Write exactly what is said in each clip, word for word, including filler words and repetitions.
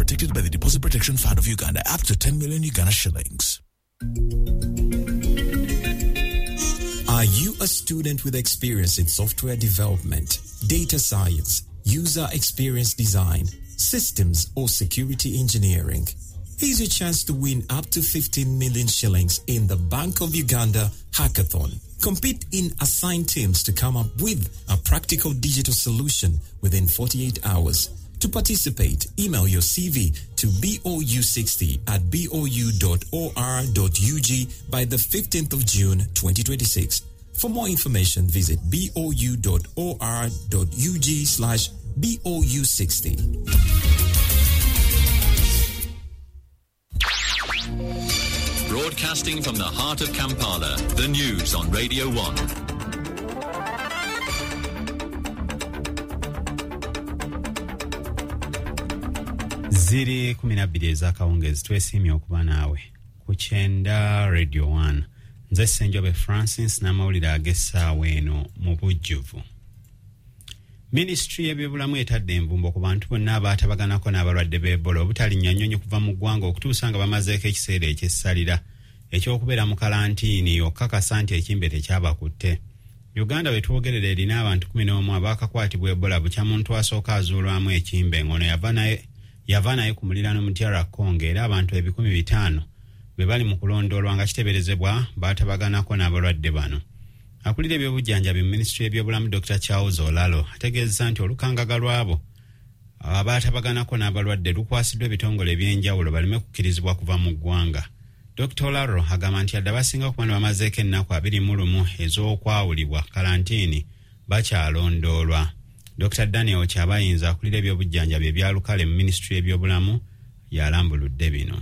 protected by the Deposit Protection Fund of Uganda up to ten million Uganda shillings. Are you a student with experience in software development, data science, user experience design, systems or security engineering? Here's your chance to win up to fifteen million shillings in the Bank of Uganda Hackathon. Compete in assigned teams to come up with a practical digital solution within forty-eight hours. To participate, email your C V to B O U sixty at B O U dot O R dot U G by the fifteenth of June twenty twenty-six. For more information, visit B O U dot O R dot U G slash B O U sixty. Broadcasting from the heart of Kampala, the news on Radio one. Ziri kumi na bbiri ez'akawungeezi, twesiimye okuba naawe ku kyenda Radio one. Nze Ssenjobe Francis n'amawulire ag'essaawa eno mu bujjuvu. Minisitule y'ebyobulamu etadde envumbo ku bantu bonna abaatabaganako n'abalwadde b'Ebola obutalinnya nnyonyi kuva mu ggwanga okutuusa nga bamazeeko ekiseera ekyessalira ekyokubeera mu kalantiini okukakasa nti ekimbe tekyabakutte. Uganda we twogerera erina abantu kumi n'omu abaakakwatibwa Ebola bukya muntu asooka azuulwamu ekimbe ng'ono yava naye yava naye ku muliraano mu D R Congo, era abantu ebikumi bitaano be bali mu kulondoolwa nga kiteeberezebwa baatabaganako n'abalwadde bano. Akulira ebyobujjanjabi mu minisitule y'ebyobulamu Doctor Charles Olalo ategeezezza nti olukangaga lw'abo abaatabaganako n'abalwadde lukwasiddwa ebitongole eby'enjawulo baleme kukkirizibwa kuva mu ggwanga. Doctor Olalo agamba nti yadde abasinga okuba ne bamazeeko ennaku abiri mu lumu ez'okwawulibwa kalantiini bakyalondoolwa. Doctor Daniel Kyabayinza akulira ebyobujjanjabi ebya Lukale mu minisitule y'ebyobulamu yalambuludde bino.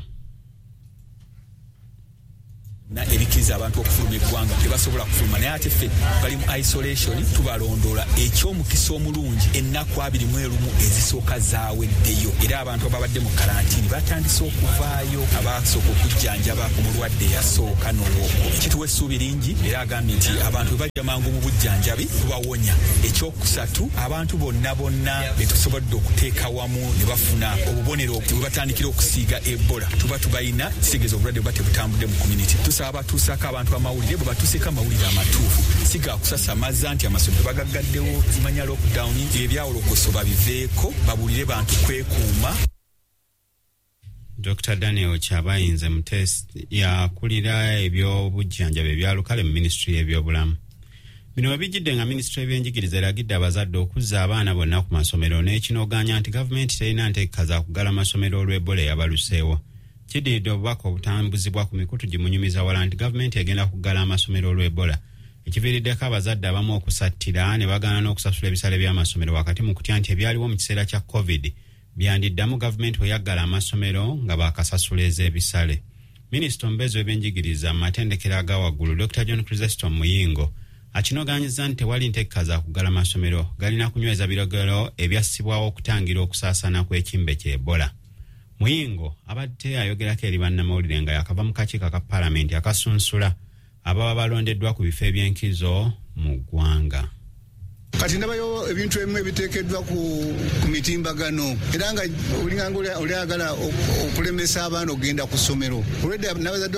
Na ebikiriza abantu okufuluma eggwanga tebasobola kufuluma, naye ate ffe bali mu isolation tubalondoola. Ekyomukisa omulungi ennaku abiri mu erumu ezisooka zaaweddeyo, era abantu ababadde mu kalantiini batandise okuvaayo, abasooka okujjanjaba omulwadde eyasooka n'owokubiri. Kituwa essuubi lingi, era agambye nti abantu bwe bajja mangu mu bujjanjabi tubawonya. Ekyokusatu, abantu bonna bonna be tusobodde okuteeka wamu ne bafuna obubonero bwe batandikira okusiiga Ebola tuba tubalina, kitegeeza obulwadde buba tebutambudde mu community. Abatuusaako abantu amawulire, bwe batuuseeko amawulire amatuufu, si ga kusasamaza nti amasomero bagaggaddewo, zimanya lockdown, ebyawolokoso babiveeko, babuulire bantu kwekuuma. Doctor Daniel Kyabayinze Mutesi yakulira ebyobujjanjabi ebya Lukale mu minisitule y'ebyobulamu. Bino we bijjidde nga minisitule y'ebyenjigiriza eragidde abazadde okuzza abaana bonna ku masomero n'ekinogaanya nti gavumenti terina nteeka za kuggala masomero olw'Ebola eyabaluseewo. Kiddiridde obubaka obutambuzibwa ku mikutu gimunyumiza wala nti gavumenti egenda kuggala amasomero olw'Ebola, ekiviiriddeko abazadde abamu okusattira ne bagaana n'okusasula ebisale by'amasomero wakati mu kutya nti ebyaliwo mu kiseera kya COVID byandiddamu gavumenti bwe yaggala amasomero nga baakasasula ez'ebisale. Minisita omubeezi w'ebyenjigiriza mu matendekero aga waggulu Doctor John Chrysostom Muyingo akinogaanyizza nti tewali nteeka za kuggala masomero, galina kunyweza biragiro ebyassibwawo okutangira okusaasaana kw'ekimbe kya Ebola. Muyingo abadde ayogerako eri bannamawulire nga yakava mu kakiiko aka paalamenti akasunsula ababa balondeddwa ku bifo eby'enkizo mu ggwanga. Kati ndabayo ebintu ebimu ebiteekeddwa ku, ku mitimbagano, era nga olinganga olyagala okulemesa abaana okugenda ku ssomero. Olwedde n'abazadde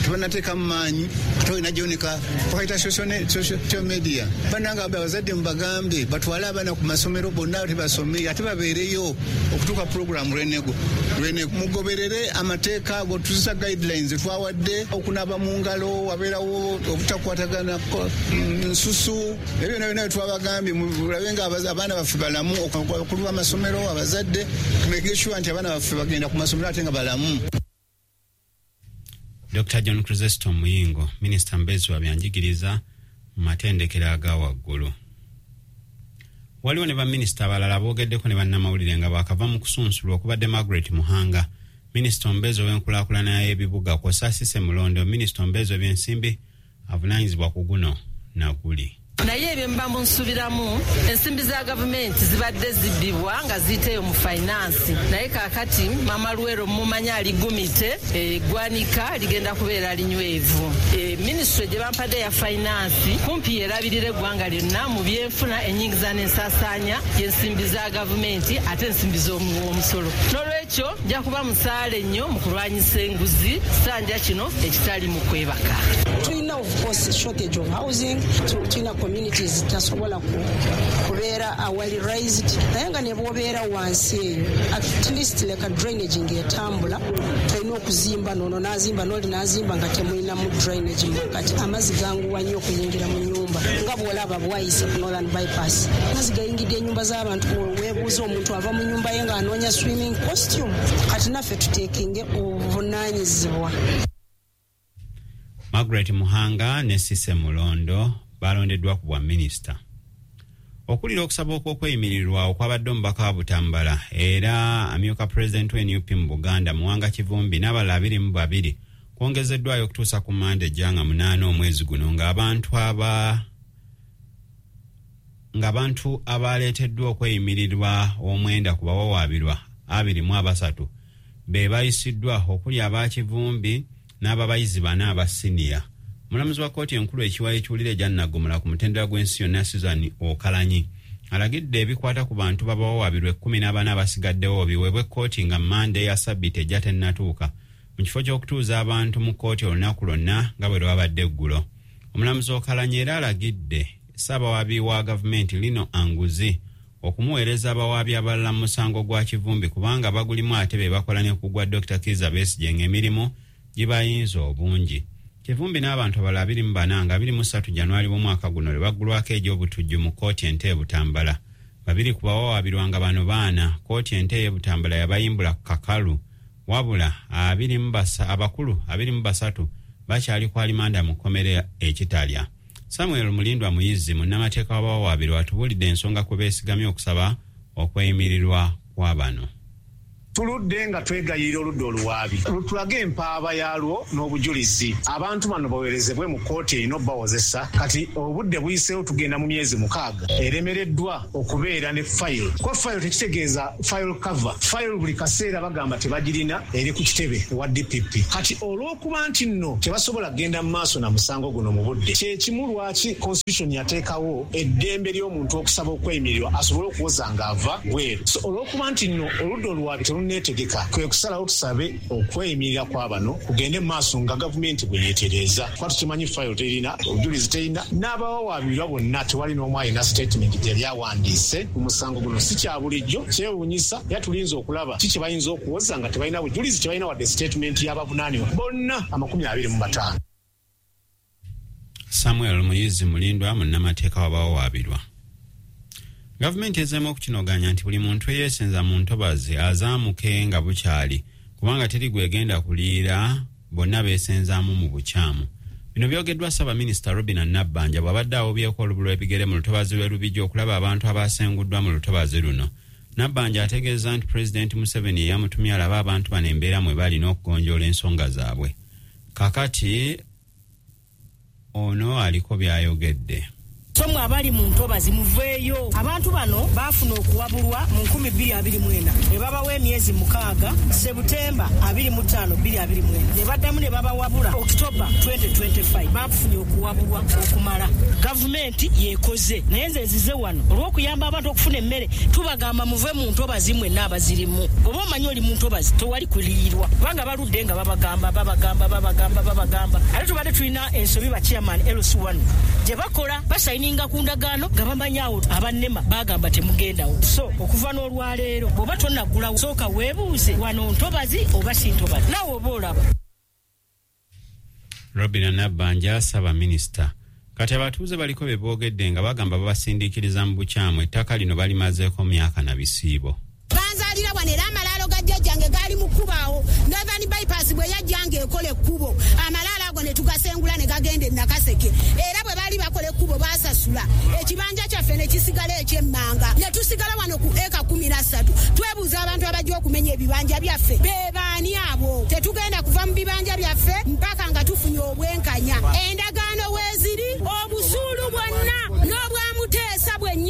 tebanateekamu maanyi, ate olina gyonika bakayita social media. Bannange abazadde mubagambe batwale abaana ku masomero bonna tebasome, ate babeereyo okutuuka pulogulaamu lwenego. Mugoberere amateeka ago, tuzisa guidelines twawadde, okunaaba mu ngalo, wabeerawo obutakwatagana nsusu, ebyo byonna byonna twaba bagambye mulabe nga abaana baffe balamu, abakulu b'amasomero, abazadde, tumeke sure nti abaana baffe bagenda ku masomero ate nga balamu. Doctor John Chrysostom Muyingo, minisita mubeezi wa byanjigiriza mu matendekero aga waggulu. Waliwo ne baminisita abalala boogeddeko ne bannamawulire nga baakava mu kusunsulwa okubadde Margaret Muhanga, minisita omubeezi ow'enkulaakulana y'ebibuga, kw'ossa Cissy Mulondo, minisita omubeezi w'ebyensimbi avunaanyizibwa ku guno na guli. Naye ebyo mba munsubiramu, ensimbi za gavumenti zibadde zibbibwa nga ziyiteeyo mu finance, naye kaakati Mama Luwero mumanyi aligumite, eggwanika ligenda kubeera linywevu. E, minisitule gye bampadde ya finance kumpi yerabirira eggwanga lyonna mu byenfuna, ennyingiza n'ensaasaanya y'ensimbi za gavumenti ate ensimbi z'omuwa omusolo. N'olwekyo nja kuba musaale nnyo mu kulwanyisa enguzi, sanja kino ekitali mu kwebaka. Tulina of course shortage of housing, tulina communities tasobola kubeera awali raised, naye nga ne bw'obeera wansi eyo, at least leka drainage ng'etambula. Tolina okuzimba nono n'azimba n'oli n'azimba nga temulinamu drainage mukati. Amazzi ganguwa nnyo okuyingira mu nyumba, nga bw'olaba bwayise ku Northern Bypass, amazzi gayingidde ennyumba z'abantu. Weebuuza omuntu ava mu nyumba ye ng'anoonya swimming costume. Kati naffe tuteekinge obuvunaanyizibwa. Margaret Muhanga ne Sise Mulondo balondeddwa ku bwa minisita. Okulira okusaba okw'okweyimirirwa okwabadde omubaka wa Butambala era amyuka pulezidenti wa N U P mu Buganda, Muwanga Kivumbi, n'abalala abiri mu babiri kwongezeddwayo okutuusa ku Mande ejja nga munaana omwezi guno, ng'abantu aba ng'abantu abaleeteddwa okweyimirirwa omwenda ku bawawaabirwa abiri mu abasatu be bayisiddwa, okuli aba Kivumbi n'ababayizi bana aba siniya. Omulamuzi wa kkooti enkulu ekiwayi ekiwulira egya Naggomola ku mutendera gw'ensi yonna, Susan Okalanyi, alagidde ebikwata ku bantu babawawaabirwa ekkumi n'abana abasigaddewo biweebwe kkooti nga Mmande eya sabbiiti ejja tennatuuka, mu kifo ky'okutuuza abantu mu kkooti olunaku lwonna nga bwe lwabadde eggulo. Omulamuzi Okalanyi era alagidde ssaabawaabi wa gavumenti Lino Anguzi okumuweereza abawaabi abalala mu musango gwa Kivumbi, kubanga bagulimu ate be bakola ne ku gwa Dokita Kiiza Besigye ng'emirimu gibayinza obungi. Kivumbi n'abantu abalala abiri mu bana nga abiri mu ssatu Januari w'omwaka guno lwe baggulwako egy'obutujju mu kkooti ento e Butambala. Babiri ku bawawaabirwa nga bano baana, kkooti ento ey'e Butambala yabayimbula ku kakalu, wabula abiri mu basa abakulu abiri mu basatu bakyali ku alimanda mu kkomera ekitalya. Samuel Mulindwa Muyizi, munnamateeka w'abawawaabirwa, atubuulidde ensonga kwe beesigamye okusaba okweyimirirwa kwa bano. Tuludde nga twegayirira oludda oluwaabi lutulage empaaba yaalwo n'obujulizi, abantu bano baweerezebwe mu kkooti erina obbawozesa. Kati obudde buyiseewo, tugenda mu myezi mukaaga, eremereddwa okubeera ne fayiro. Kuba fayiro tekitegeeza file cover. Fayiro buli kaseera bagamba tebagirina, eri ku kitebe ewa D P P. Kati olw'okuba nti nno tebasobola kugenda mu maaso na musango guno mu budde, kyekimu lwaki constitution yateekawo eddembe ly'omuntu okusaba okweyimirirwa asobole okuwoza ng'ava bweru. So olw'okuba nti nno oludda oluwaabi terunneetegeka, kwe kusalawo tusabe okweyimirira kwa bano kugende mu maaso nga gavumenti bwe yeetereeza, kuba tukimanyi fayiro terina, obujulizi terina, n'abawawaabirwa bonna tewali n'omu alina statement gye yali awandiise ku musango guno. Si kya bulijjo, kyewuunyisa, era tulinza okulaba ki kye bayinza okuwoza nga tebalina bujulizi, tebalina wadde statement y'abavunaanibwa bonna amakumi abiri mu bataano. Samuel Muyizi Mulindwa, munnamateeka w'abawawaabirwa. Gavumenti ezeemu okukinoganya nti buli muntu eyeesenza mu ntobazi azaamuke nga bukyali, kubanga teri gwegenda kuliira, bonna beesenzaamu mu bukyamu. Bino byogeddwa ssaabaminisita Robina Nabbanja bw'abadde awubyeko olubu lw'ebigere mu lutobazi lw'e Lubigi okulaba abantu abasenguddwa mu lutobazi luno. Nabbanja ategeeza nti Pulezidenti Museveni eyamutumye alabe abantu bano embeera mwe balina okugonjoola ensonga zaabwe. Kakati ono aliko by'ayogedde. So mwe abali mu ntobazi muveeyo. Abantu bano baafuna okuwabulwa mu nkumi bbiri abiri mu ena, ne babawa emyezi mukaaga, Sebutemba abiri mu ttaano bbiri abiri mu ena, ne baddamu ne babawabula Okitoba twenty twenty-five. Bafunye okuwabulwa okumala. Gavumenti yekoze, naye nze nzize wano olw'okuyamba abantu okufuna emmere. Tubagamba muve mu ntobazi mwenna abazirimu. Oba omanyi oli mu ntobazi, tewali kuliirwa, kubanga baludde nga babagamba, babagamba, babagamba, babagamba. Ate tubadde tulina ensobi ba chairman L C one gye bakola, basayininga ku ndagaano nga bamanyi awo abannema bagamba temugendawo. So okuva n'olwaleero, bw'oba tonnaggulawo, sooka weebuuze, wano ntobazi oba si ntobazi? Naawe oba olaba. Robina Nabbanja, ssaabaminisita. Kati abatuuze baliko bye boogedde nga bagamba babasindiikiriza mu bukyamu, ettaka lino balimazeeko myaka na bisiibo. Banzaalira wano, era amalaalo ga jjajjange gaali mu kkubo awo. Northern Bypass bwe yajjanga ekola ekkubo, amalaalo ago ne tugasengula ne gagenda e Nakaseke. Era bwe baali bakola ekkubo baasasula, ekibanja kyaffe ne kisigala ekyemmanga, ne tusigala wano ku eka kumi na ssatu. Twebuuza abantu abajja okumenya ebibanja byaffe be baani abo? Tetugenda kuva mu bibanja byaffe mpaka nga tufunye obwenkanya. Endagaano weeziri, obusuulu bwonna.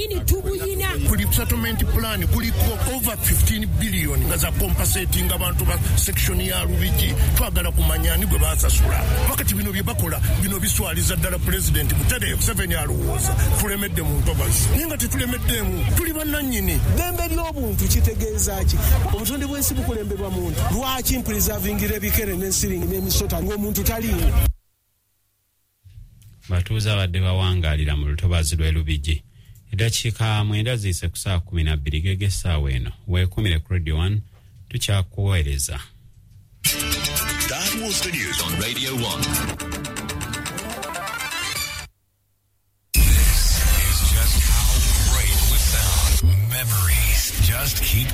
bwennyini tubuyina. Kuli settlement plan kuliko over fifteen billion nga za compensating abantu ba section ya Lubigi. Twagala kumanya ani gwe basasula. Wakati bino bye bakola bino biswaliza ddala President Museveni Museveni alowooza tulemedde mu ntobazi, naye nga tetulemeddemu, tuli bannannyini. Ddembe ly'obuntu kitegeeza ki? Obutonde bw'ensi bukulembebwa muntu. Lwaki mpreservingira ebikere n'ensiringi n'emisota ng'omuntu taliiwo? Batuuze abadde bawangaalira mu lutobazi lw'e Lubigi. Eddakiika mwenda ziyise ku ssaawa kumi na bbiri gege essaawa eno. Weekumire ku Radio one, tukyakuweereza. That was the news on Radio one. This is just how great we sound. Memories just keep